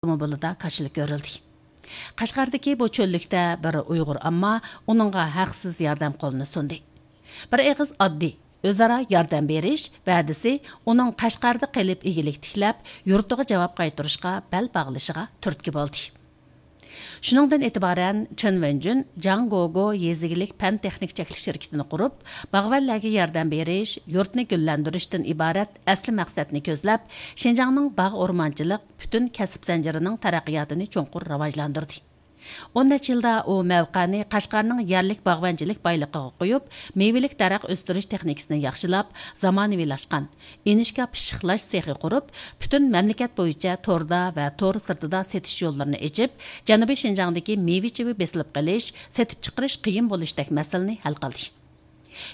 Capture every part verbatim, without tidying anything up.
ئاپتوموبىلىدا كاشىلا كۆرۈلدى. قەشقەردىكى بۇ چۆللۈكتە بىر ئۇيغۇر ئامما ئۇنىڭغا ھەقسىز ياردەم قولىنى سۇندى. بىر ئېغىز ئاددىي، ئۆزئارا ياردەم بېرىش ۋەدىسى ئۇنىڭ قەشقەردە قېلىپ ئىگىلىك تىكلەپ، يۇرتىغا جاۋاب قايتۇرۇشقا بەل باغلىشىغا تۈرتكە بولدى. شۇنىڭدىن ئېتىبارەن چېن ۋېنجۈن جاڭ گوگو يېزا ئىگىلىك پەن تېخنىك چەكلىك شىركىتىنى قۇرۇپ، باغۋەنلەرگە ياردەم بېرىش، يۇرتنى گۈللەندۈرۈشتىن ئىبارەت ئەسلى مەقسەتنى كۆزلەپ، شىنجاڭنىڭ باغ ئورمانچىلىق پۈتۈن كەسىپ زەنجىرىنىڭ تەرەققىياتىنى چوڭقۇر راۋاجلاندۇردى. ئون نەچچە يىلدا ئۇ مەۋقەنى قەشقەرنىڭ يەرلىك باغۋەنچىلىك بايلىقىغا قويۇپ، مېۋىلىك دەرەخ ئۆستۈرۈش تېخنىكىسىنى ياخشىلاپ، زامانىۋىلاشقان ئىنىشكا پىششىقلاش سېخى قۇرۇپ، پۈتۈن مەملىكەت بويىچە توردا ۋە تور سىرتىدا سېتىش يوللىرىنى ئېچىپ، جەنۇبىي شىنجاڭدىكى مېۋە-چېۋە بېسىلىپ قېلىش، سېتىپ چىقىرىش قىيىن بولۇشتەك مەسىلىنى ھەل قىلدى.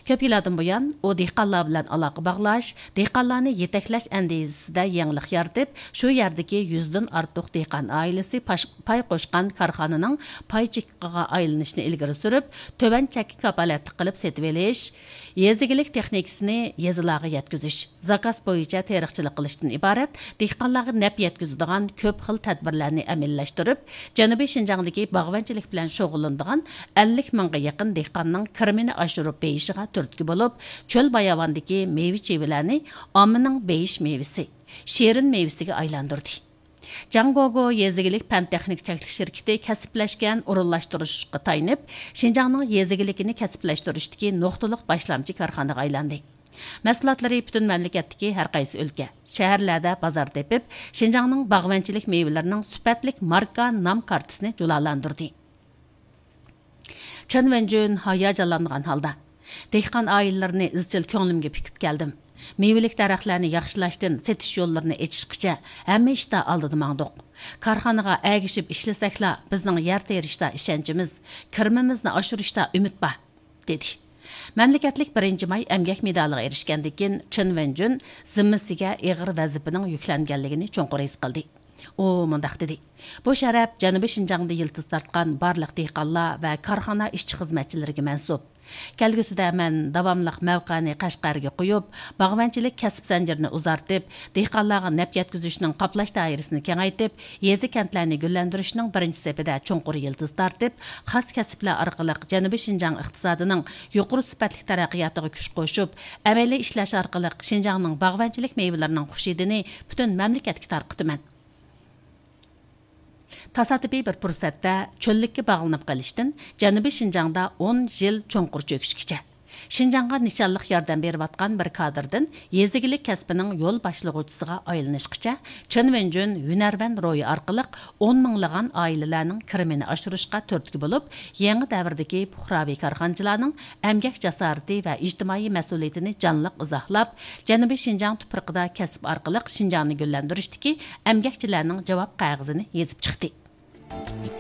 كۆپ يىلاردىن بۇيان، ئۇ دېھقانلار بىلەن ئالاقە باغلاش، دېھقانلارنى يېتەكلەش ئەندىزىسىدە يېڭىلىق يارىتىپ، شۇ يەردىكى يۈزدىن ئارتۇق دېھقان ئائىلىسى پاش-، پاي قوشقان كارخانىنىڭ پاي چېكىقىغا ئايلىنىشنى ئىلگىرى سۈرۈپ، تۆۋەن چەككە كاپالەتلىك قىلىپ سېتىۋېلىش، يېزا ئىگىلىك تېخنىكىسىنى يېزىلارغا يەتكۈزۈش، زاكاز بويىچە تېرىقچىلىق قىلىشتىن ئىبارەت دېھقانلارغا نەپ يەتكۈزىدىغان كۆپ خىل تەدبىرلەرنى ئەمەلىيلەشتۈرۈپ، جەنۇبىي شىنجاڭدىكى باغۋەنچىلىك بىلەن شۇغۇللىنىدىغان ئەللىك مىڭغا يېقىن دېھقاننىڭ كىرىمىنى ئاشۇرۇپ بېيىشىغا تۈرتكە بولۇپ، چۆل باياۋاندىكى مېۋە-چېۋىلەرنى ئاممىنىڭ بېيىش مېۋىسى، شېرىن مېۋىسىگە ئايلاندۇردى. جاڭ گوگو يېزا ئىگىلىك پەن تېخنىك چەكلىك شىركىتى كەسىپلەشكەن ئورۇنلاشتۇرۇشقا تايىنىپ، شىنجاڭنىڭ يېزا ئىگىلىكىنى كەسىپلەشتۈرۈشتىكى نۇقتىلىق باشلامچى كارخانىغا ئايلاندى. مەھسۇلاتلىرى پۈتۈن مەملىكەتتىكى ھەر قايسى ئۆلكە، شەھەرلەردە بازار تېپىپ، شىنجاڭنىڭ باغۋەنچىلىك مېۋىلىرىنىڭ سۈپەتلىك ماركا نام كارتىسىنى جۇلالاندۇردى. چېن ۋېنجۈن ھاياجانلانغان ھالدا، دېھقان ئائىلىلىرىنى ئىزچىل كۆڭلۈمگە پۈكۈپ كەلدىم. مېۋىلىك دەرەخلەرنى ياخشىلاشتىن سېتىش يوللىرىنى ئېچىشقىچە ھەممە ئىشتا ئالدىدا ماڭدۇق. كارخانىغا ئەگىشىپ ئىشلىسەكلا، بىزنىڭ يەر تېرىشتا ئىشەنچىمىز، كىرىمىمىزنى ئاشۇرۇشتا ئۈمىد بار، دېدى. مەملىكەتلىك بىرىنچى ماي ئەمگەك مېدالىغا ئېرىشكەندىن كېيىن، چېن ۋېنجۈن زىممىسىگە ئېغىر ۋەزىپىنىڭ يۈكلەنگەنلىكىنى چوڭقۇر ھېس قىلدى. ئۇ مۇنداق دېدى: بۇ شەرەپ جەنۇبىي شىنجاڭدا يىلتىز تارتقان بارلىق دېھقانلار ۋە كارخانا ئىشچى-خىزمەتچىلىرىگە مەنسۇپ. كەلگۈسىدە مەن داۋاملىق مەۋقەنى قەشقەرگە قويۇپ، باغۋەنچىلىك كەسىپ زەنجىرىنى ئۇزارتىپ، دېھقانلارغا نەپ يەتكۈزۈشنىڭ قاپلاش دائىرىسىنى كېڭەيتىپ، يېزا-كەنتلەرنى گۈللەندۈرۈشنىڭ بىرىنچى سېپىدە چوڭقۇر يىلتىز تارتىپ، خاس كەسىپلەر ئارقىلىق جەنۇبىي شىنجاڭ ئىقتىسادىنىڭ يۇقىرى سۈپەتلىك تەرەققىياتىغا كۈچ قوشۇپ، ئەمەلىي ئىشلەش ئارقىلىق شىنجاڭنىڭ باغۋەنچىلىك مېۋىلىرىنىڭ خۇش ھىدىنى پۈتۈن مەملىكەتكە تارقىتىمەن. تاسادىپىي بىر پۇرسەتتە چۆللۈككە باغلىنىپ قېلىشتىن جەنۇبىي شىنجاڭدا ئون يىل چوڭقۇر چۆكۈشكىچە، شىنجاڭغا نىشانلىق ياردەم بېرىۋاتقان بىر كادىردىن يېزا ئىگىلىك كەسپىنىڭ يول باشلىغۇچىسىغا ئايلىنىشقىچە، چېن ۋېنجۈن ھۈنەرۋەن روھى ئارقىلىق ئون مىڭلىغان ئائىلىلەرنىڭ كىرىمىنى ئاشۇرۇشقا تۈرتكە بولۇپ، يېڭى دەۋردىكى پۇقراۋى كارخانىچىلارنىڭ ئەمگەك جاسارىتى ۋە ئىجتىمائىي مەسئۇلىيىتىنى جانلىق ئىزاھلاپ، جەنۇبىي شىنجاڭ تۇپرىقىدا كەسىپ ئارقىلىق شىنجاڭنى گۈللەندۈرۈشتىكى ئەمگەكچىلەرنىڭ جاۋاب قەغىزىنى يېزىپ چىقتى.